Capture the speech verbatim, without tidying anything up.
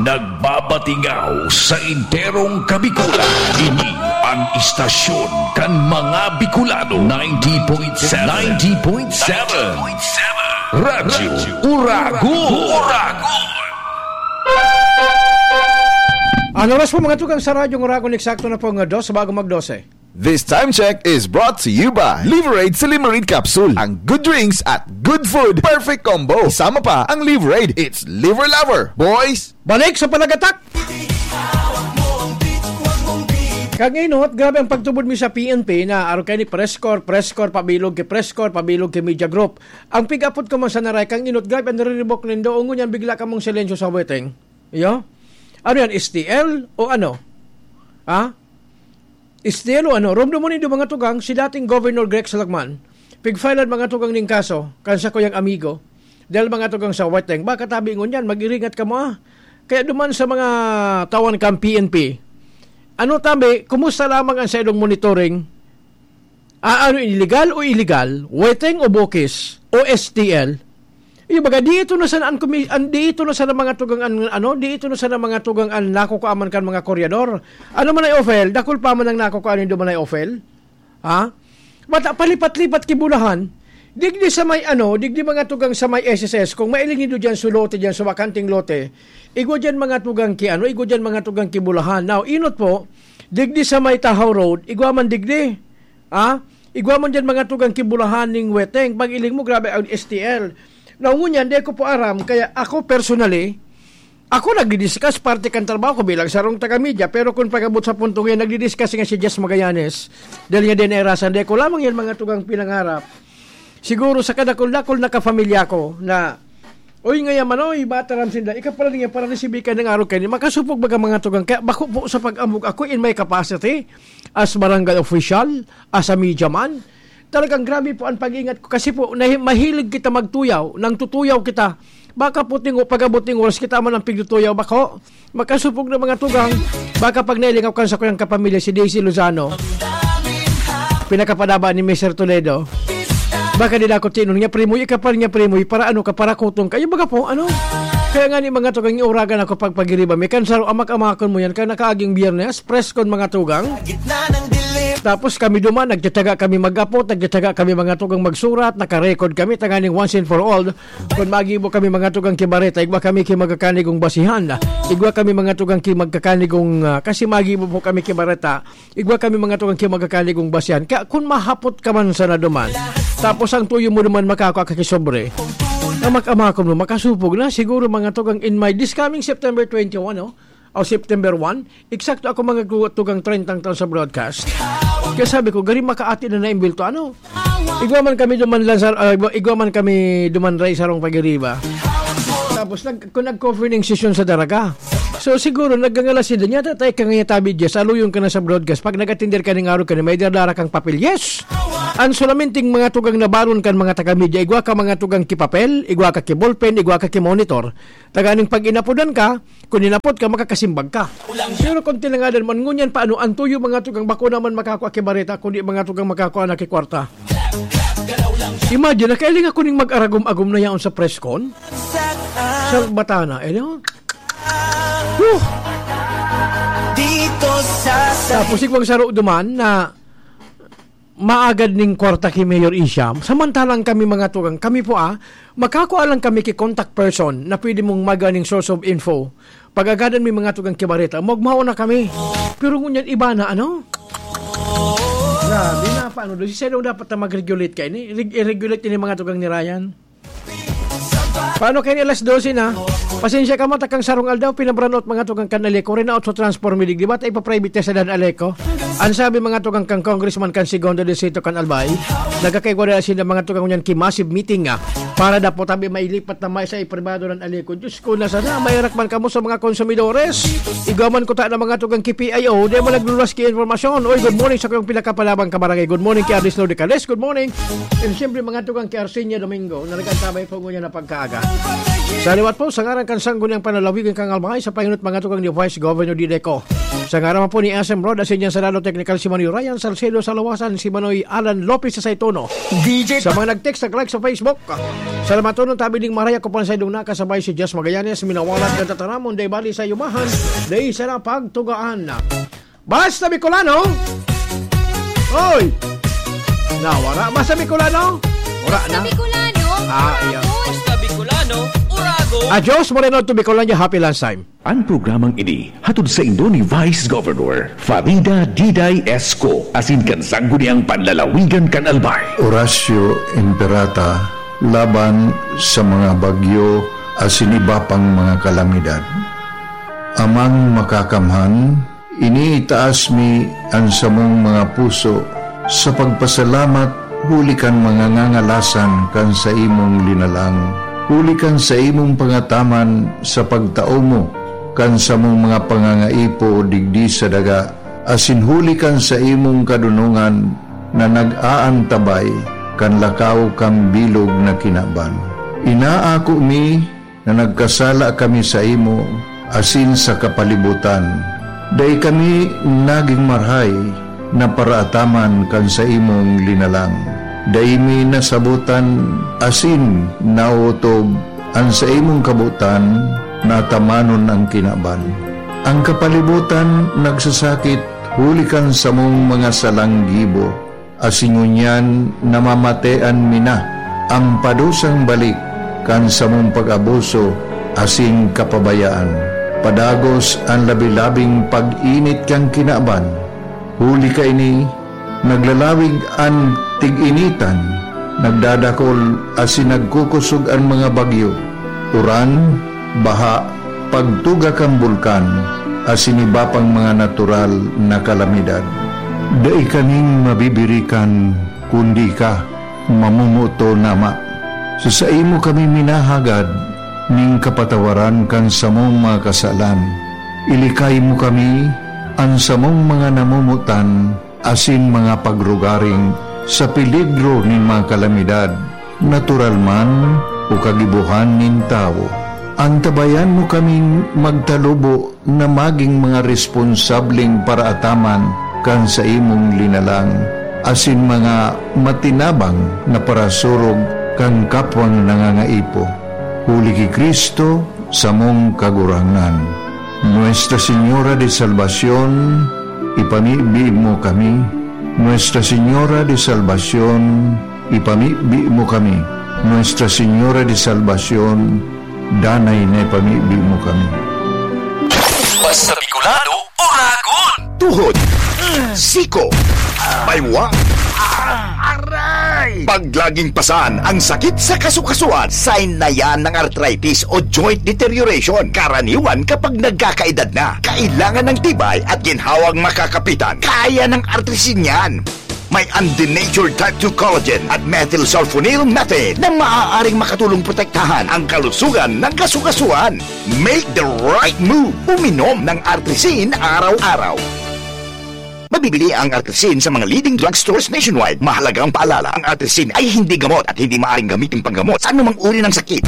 Nagbabatingaw sa enterong Kabikulan. Ini an istasyon kan mga Bicolano, ninety point seven. Ninety point seven. Radyo Uragon. Uragon. Ang oras po, mga tugang, sa Radyo Uragon, eksakto na po nga dos bago mag-dose. This time check is brought to you by Liverade Silimarin Capsule. Ang good drinks at good food, perfect combo. Isama pa ang Liverade. It's Liver Lover, boys! Balik sa panagatak! Kag inot, grabe ang pagtubod mi sa P N P na arog kaini Presscorps, Presscorps, pabilog ki Presscorps, pabilog ki Media Group. Ang pig-apot ko man sa naray, kang inot, grabe ang nariribok nindo, ngunyan bigla kamong silensyo sa weteng. Iyo? Ano yan, S T L o ano? Ha? Estilo, ano, romdom mo nindo mga tugang, si dating Governor Greg Salagman, pigfilean mga tugang ning kaso, kan sakuyang amigo. Dahil mga tugang sa weteng, baka tabi ngunyan, mag-iringat kamo, ah. Kaya duman sa mga tawan kan P N P, ano tabi, kumusta lamang ang saidong monitoring? Ah, ano, illegal o illegal? Weteng o bukis? O S T L? Iyo, baga, di ito na sana an komi-, an, di ito na sana mga tugang an, ano, di ito na sana mga tugang an nakukua man kan mga koryador. Ano man ay ofel, dakul pa man ang nakukua nindo man ay ofel? Ha? Mata, palipat-lipat ki Bulahan. Digdi sa may, ano, digdi mga tugang sa may S S S, kung mailing nindo diyan sa lote, diyan sa bakanting lote, igwa diyan mga tugang ki, ano, igwa diyan mga tugang ki Bulahan. Now, inot po, digdi sa may Tahaw Road, igwa man digdi. Ha? Igwa man diyan mga tugang ki Bulahan ning weteng. Pag iling mo, grabe ang S T L. Now, ngunyan, di ko po aram. Kaya ako, personally, ako nagdi-discuss parte kan trabaho ko bilang sarong taga-media. Pero kung pag-abot sa punto ngayon, nagdi-discuss nga si Jess Magallanes. Dahil nga din, eh, rasan, di ko lamang yan mga tugang pinangarap. Siguro sa kadakul-dakul na kapamilya ko na, "Oy, ngaya man, oy, mataram sinda. Ika pala niya para resibi ka ng araw kayo. Makasupog baga mga tugang." Kaya bako po sa pag-ambog ako in my capacity as barangay official, as a media man. Talagang grabe po ang pag-ingat ko. Kasi po, nahi-, mahilig kita magtuyaw. Nang tutuyaw kita, baka po tingo, pag-abot ng oras kita man ang pigtutuyaw. Bako, makasupog na mga tugang. Baka pag nailingaw kan sa kuyang kapamilya, si Daisy Lozano, pinakapadaba ni Mister Toledo. Baka di na ako tinon niya, "Primo, ika pa rin niya, Primo, para ano ka, para kutong ka." Yung baga po, ano? Kaya nga ni mga tugang, iuragan ako pag pagiriba. May kansaro, amak-amakon mo yan, kaya nakaaging biyernes, preskon mga tugang. Tapos kami duman, nagtataga kami mag-apot, nagtataga kami mga tugang magsurat, nakarecord kami, tanganing once and for all, kung magibo kami mga tugang kibareta, igwa kami ki magkakanigong basihan. Igwa kami mga tugang ki magkakanigong, ah, kasi magibo po kami kibareta. Igwa kami mga tugang ki magkakanigong basihan. Kaya kung mahapot ka man sana duman, tapos ang tuyo mo duman makakua ka ki sobre, amak-amakon mo, makasupog na siguro mga tugang in my this coming September twenty-one, no? O September one, eksakto ako mga gu-, tugang trentang taon sa broadcast. Kaya sabi ko, "Gari makaati na naimbelto, ano?" Igwa man kami duman lang sa, ah, igwa, igwa man kami duman ray sarong pagiriba. Tapos nag-, kung nag-cover ning sesyon sa Daraga. So siguro, naggangalas sila niya, "Tatay ka ngayon tabi dyan, saluyon ka na sa broadcast. Pag nag-attender ka ning araw ka na, may dadara kang papel." Yes! Ang sulaminting mga tugang na baron kan mga taga-media, igwa ka mga tugang ki papel, igwa ka ki ballpen, igwa ka ki monitor. Taganing pag inapodan ka, kung inapod ka, makakasimbag ka. Pero kung tinangadan man ngunyan, paano ang tuyo mga tugang bako naman makakua ki bareta, kundi mga tugang makakua na ki kwarta? Imagine, nakailing ako ning mag-aragom-agom na yaon sa press con. Sa Batana, eh, no? Whew! Dito sa Tapos igwang saro duman na maagad ning kwarta ki Mayor Isham. Samantalang kami mga tugang, kami po, ah, makakua lang kami ki contact person na pwede mong maga ning source of info. Pag-agadan mi mga tugang ki bareta, magmao na kami. Pero ngunyan iba na, ano? Grabe na, paano doon? Si Senong dapat na mag-regulate ka ini. Reg-, i-regulate ini mga tugang ni Ryan. Paano kayo ni alas dose na? Pasensya ka mo, takang sarong aldaw, pinabranot mga tugang kan Aleco, rinaot sa transform midig, di ba? Tayo pa-private test sa Dan Aleco. Ang sabi mga tugang kang Congressman kan Segundo Distrito kan Albay, nagkakaigwa na sila mga tugang niyan ki massive meeting, ah, para dapat tabi mailipat na may sa ipribado ng Aleco. Diyos ko, na sana, mayarak man kamo sa mga konsumidores. Igwa man ko ta na mga tugang ki P I O, di mo naglulas ki informasyon. Oy, good morning sa kayong pinakapalabang kabarangay. Good morning ki Aris Lodi Cales. Good morning. And siyempre, mga tugang ki Arsenia Domingo, na nag-antabay po ngunyan na pagkaaga. Sa liwat po, sa ngaran kan Sangguniang Panalawigan kang Albay, sa panginot mga tugang ni Vice Governor Dideco. Sa ngaran po ni S M Rod, Asin Senado Technical si Manoy Ryan Salcedo sa Lawasan, si Manoy Alan Lopez sa Saitono. D J Sa mga nag-text, nag-like sa Facebook, Salamaton tabi ning maray, ako pa sa idong nakasabay si Jess Magallanes, minawalat kan tataramon, dai bali sa yumahan, dai sana pagtugaan. Basta Bicolano? Oy! Nawara. Basta Bicolano? Wala Basta na. Bicolano, Ah, iya. Uragon. Basta Bicolano, uragon. Adios, Moreno to Bicolandia. Happy lunchtime. Ang programang ini hatod saindo ni Vice Governor Farida Diday Esco asin kan Sangguniang Panlalawigan kan Albay. Horacio Imperata laban sa mga bagyo asin iba pang mga kalamidad. Amang Makakamhan, iniitaas mi an samong mga puso sa pagpasalamat huli kan mga ngangalasan kan saimong linalang, huli kan saimong pangataman sa pagtao mo kan samong mga pangangaipo digdi sa daga, asin huli kan saimong kadonongan na nag-aantabay kan lakaw kan bilog na kinaban. Inaako mi na nagkasala kami saimo asin sa kapalibutan. Dai kami nagin marahay na paraataman kan saimong linalang. Dai mi nasabotan asin naotob an saimong kabotan na atamanon an kinaban. An kapalibutan nagsasakit huli kan samong mga salang gibo, asin ngunyan namamatean mi na an padusang balik kan samong pag-abuso asin kapabayaan. Padagos an labi-labing pag-init kan kinaban. Huli kaini, naglalawig an tig-initan, nagdadakol asin nagkukosog an mga bagyo, uran, baha, pagtuga kan bulkan, asin iba pang mga natural na kalamidad. Dai kaming mabibirikan, kundi ika, mamomoton, Ama. Sa saimo kami minahagad ning kapatawaran kan samong mga kasalan. Ilikay mo kami, an samong mga namomotan, asin mga pagrugaring sa peligro nin mga kalamidad, natural man o kagibohan nin tawo. Antabayan mo kaming magtalubo na magin mga responsableng paraataman kan saimong linalang, asin mga matinabang na parasurog kan kapwang nangangaipo. Huli ki Cristo, samong Kagurangnan. Nuestra Señora de Salvacion, ipamibi mo kami. Nuestra Señora de Salvacion, ipamibi mo kami. Nuestra Señora de Salvacion, danay na ipamibi mo kami. Basta Bicolano, Oragon! Tuhod, siko, baywa, aray! Pag laging pasan ang sakit sa kasukasuan, sign na yan ng arthritis o joint deterioration. Karaniwan kapag nagkakaedad na, kailangan ng tibay at ginhawang makakapitan. Kaya ng Artrisin yan. May undenatured type two collagen at methylsulfonyl methane na maaaring makatulong protektahan ang kalusugan ng kasukasuan. Make the right move. Uminom ng Artrisin araw-araw. Mabibili ang Artrisin sa mga leading drugstores nationwide. Mahalagang paalala, ang Artrisin ay hindi gamot at hindi maaaring gamitin panggamot sa anumang uri ng sakit.